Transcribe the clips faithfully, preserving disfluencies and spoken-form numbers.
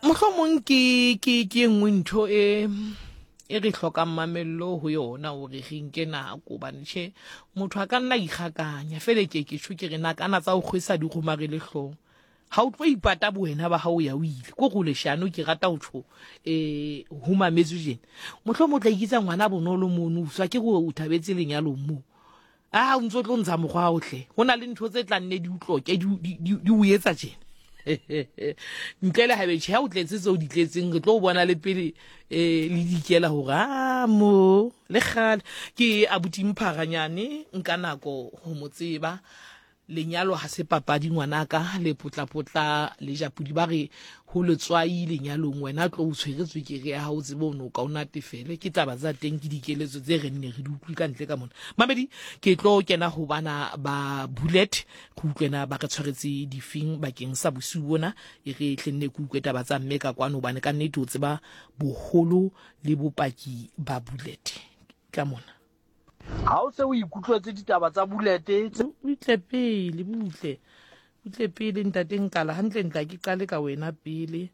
Mohlomong ke ke ke e nngwe ntho e e re hlokang mamello ho yona hore re nke nako, hobane tjhe motho a ka nna ikgakanya fele. Ke ke tjho ke re nakana tsa ho kgwesa di kgomarele hlooho. Ha o tlo ipata bowena ba hao ya o ile ko go leshano. Ke rata ho tjho um ho mametswe jena, mohlomong o tla ikitsa ngwana bonolo mono, uswa ke go o thabetse lenyalong moo, a o ntso tlo ntsha mokgwa ohle. Ho na le ntho tse tla nne di utloke di o etsa tjena ntle le habe tjhe ha o tletse tseo di tletseng, re tlo o bona le pele um le dikela hore a mo le kgale. Ke abuti Mpharanyane, nka nako ho mo tseba. Lenyalo ha se papadi ngwanaka, le potlapotla le japodi ba re ho letswai lenyalong. Wena tlo o tshwere tswekere ya hao, tsebe o no ka o natefele. Ke taba tsa teng, ke dikeletso tse re nne re di utlwe ka ntle ka mona. Mamedi, ke tlo kena ho bana ba Bullet, go utlwena ba re tshwaretse difeng bakeng sa bosiu bona. E re tle nne ke utlwe taba tsa mme ka kwano, hobane ka nnete o tseba boholo le bopaki ba Bullet ka mona. Ha o se o ikutlwetse ditaba tsa Bullet tse Butle pele, butle butle pele, ntate Nkala. Hantle ntla ke qale ka wena pele.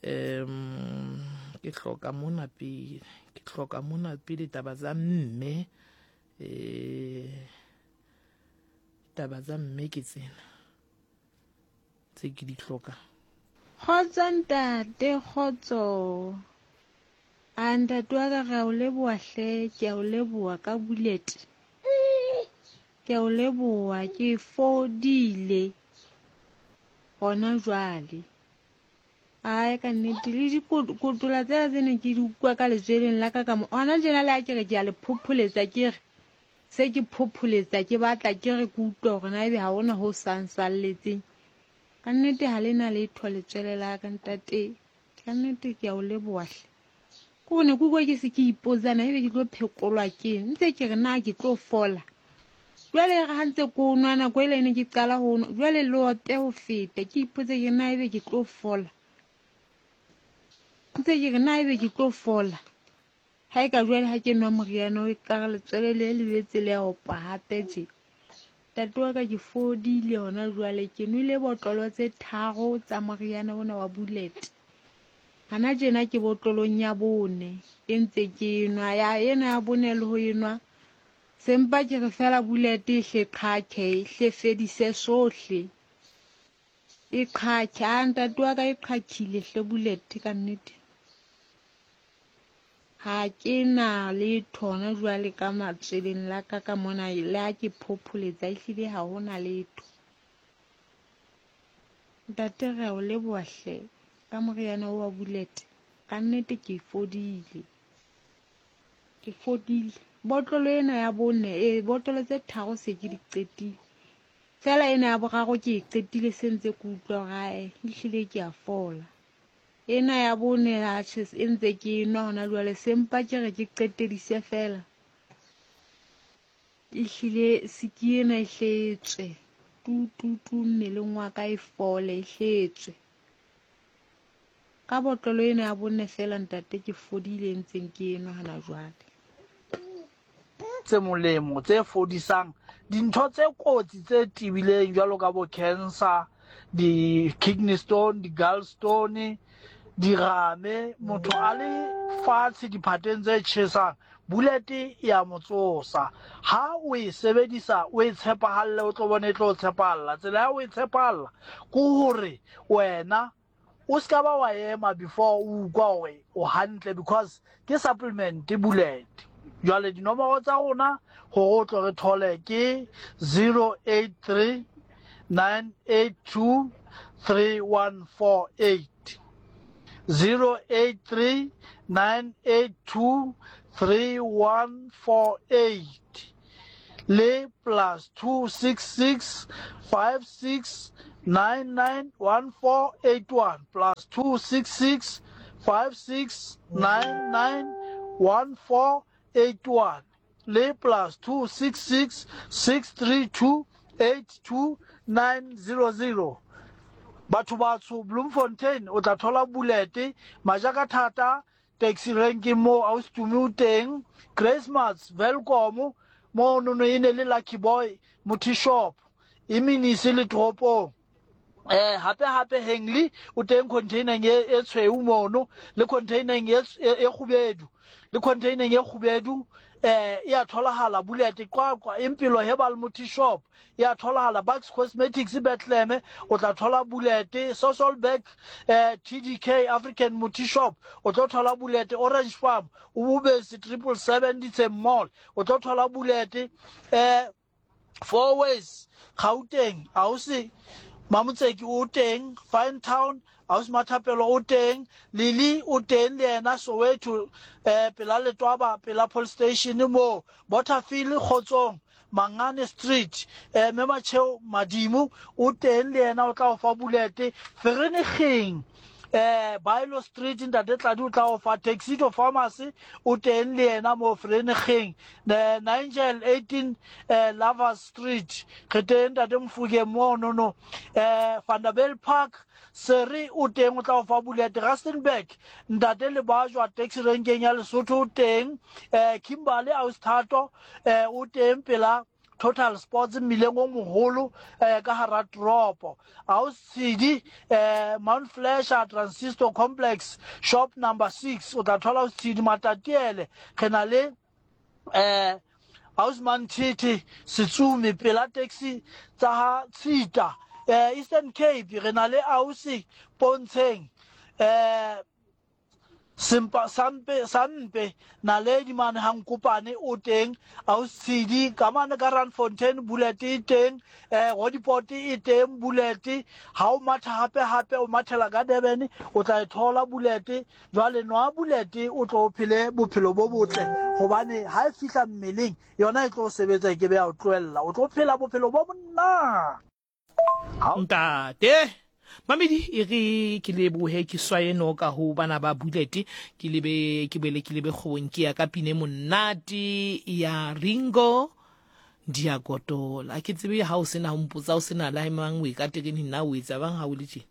um ke hloka mona pele, ke hloka mona pele taba tsa mme. um taba tsa mme ke tsena tse ke di hlokang. Kgotso ntate, kgotso. A ntate wa ka, re a o leboha hle, ke a o leboha ka Bullet. Ke a o leboha, ke fodile hona jwale. Ai ka nnete, le dikotola tsela tse ne ke di utlwa ka letsweleng la ka ka mo. Hona tjena le ha ke re ke a le phopholetsa, ke re se ke phopholetsa, ke batla ke re ke utlwe hore na ebe ha hona ho sang salletseng. Ka nnete ha le na letho letswele la ka ntate. Ka nnete ke a o leboha hle. Ko ne ke utlwa ke se ke ipotsa na ebe ke tlo phekolwa keng, ntse ke re na ke tlo fola. Jwale re ha ntse ko nwa nako ele ne ke qala ho nwa, jwale le ope ho feta, ke ipotse ke na ebe ke tlo fola. Ntse ke re na ebe ke tlo fola. Ha e ka jwale ha ke nwa moriana o e ka re letswele le le boetse le a opa hape tje. Ntate wa ka, ke fodile hona jwale, ke nwele botlolo tse tharo tsa moriana ona wa Bullet. Hana tjena ke botlolong ya bone e ntse ke nwa, ya ena ya bone le ho enwa. Sempa ke re fela Bullet e hle qhaqhe, e hle fedise sohle. E qhaqhe, a ntate wa ka e qhaqhile hle Bullet ka nnete. Ha ke na letho hona jwale ka matsweleng la ka ka mona, le ha ke phopholetsa ehlile ha hona letho. Ntate re a o leboha hle ka moriana wa Bullet. Ka nnete ke fodile. Ke fodile. Botlolo ena ya bone, e botlolo tse tharo se ke di qetile. Fela ena ya boraro ke e qetile se ntse ke utlwa hore ae, ehlile ke a fola. Ena ya bone atjhe e ntse ke e nwa hona jwale, sempa ke re ke qetedise fela. Ehlile siki ena e hle e tswe. Tu tu tu mmeleng wa ka e fole, e hle e tswe. Ka botlolo ena ya bone fela ntate ke fodile e ntseng ke e nwa hona jwale. Tse molemo tse fodisang dintho tse kotsi tse tebileng jwalo ka bo cancer, di-kidney stone, di-gallstone, dirame, motho a le fatshe diphateng tse tjhesang, Bullet ya mo tsosa. Ha o e sebedisa o e tshepahalle, o tlo bona e tlo tshepahalla. Tsela ya o e tshepahalla ke hore wena o ska ba wa ema before o utlwa hore o hantle, because ke supplement Bullet. Jwale dinomoro tsa rona hore o tlo re thole ke zero eight three nine eight two three one four eight, zero eight three nine eight two three one four eight le plus two six six five six nine nine one four eight one, plus two six six five six nine nine one four eight one le plus two six six six three two eight two nine zero zero. Batho batsho Bloemfontein o tla thola Bullet Majakathata taxi ranking mo ausi o teng, Christmas Welkom mo nono e ne le Lucky Boy Muthi shop iminisi le toropong. Eh hape hape Henley o teng containereng e e tshweu mono le containereng e e kgubedu le containereng e kgubedu eh e a tholahala Bullet Qwaqwa Impilo Herbal Muti Shop e a tholahala Bucks Cosmetics Bethlehem o tla thola Bullet Sasolburg eh T D K African Muti Shop o tlo thola Bullet Orange Farm Ububesi triple seven Ditse Mall o tlo thola Bullet eh Four Ways Gauteng ausi Mamotseki o teng Fine Town ausi Mathapelo o teng Lily o teng le yena Soweto eh pela Letwaba pela police station mo Butterfield Kgotsong Mangane Street eh Memacheo Madimo o teng le yena o tla o fa Bullet Vereniging eh Bailo Street ntate Tladi o tla o fa Taxito Pharmacy o teng le yena mo Vereniging Nigel eighteen eh Lovers Street re teng ntate Mfuke mo no no eh Vanderbijl Park Seri o teng o tla o fa Bullet Rustenburg ntate Lebajwa taxi renkeng ya Lesotho o teng eh Kimberley Ausithato eh o teng pela Total Sports mmileng o moholo eh ka hara toropo Ausidi eh Mount Fletcher Transistor Complex shop number six o tla thola Ausidi Matatiele re na le eh Ausman Titi Setsumi pela taxi tsa ha Tshita eh Eastern Cape re na le Ausi Pontsheng eh Simpa sampe sampe naledi mane ha nkopane o teng Ausidi ka mane ka Randfontein Bullet e teng eh Rodiport e teng Bullet ha o matha hape hape o mathela ka Durban o tla e thola Bullet jwale nwa Bullet o tlo phele bophelo bo botle hobane ha e fihla mmeleng yona e tlo sebetsa ke be ya o tlohella o tlo phela bophelo bo monna. Ntate Mamedi e re ke lebohe ke swaye noka ho bana ba Bullet ke lebe ke boele ke lebe kgwebong ke ya ka pine monate ya Ringo Diakotola. Ke tsebe ha o sena ho mpotsa o sena la mang o e ka terene nna o etsa bang ha o le tje.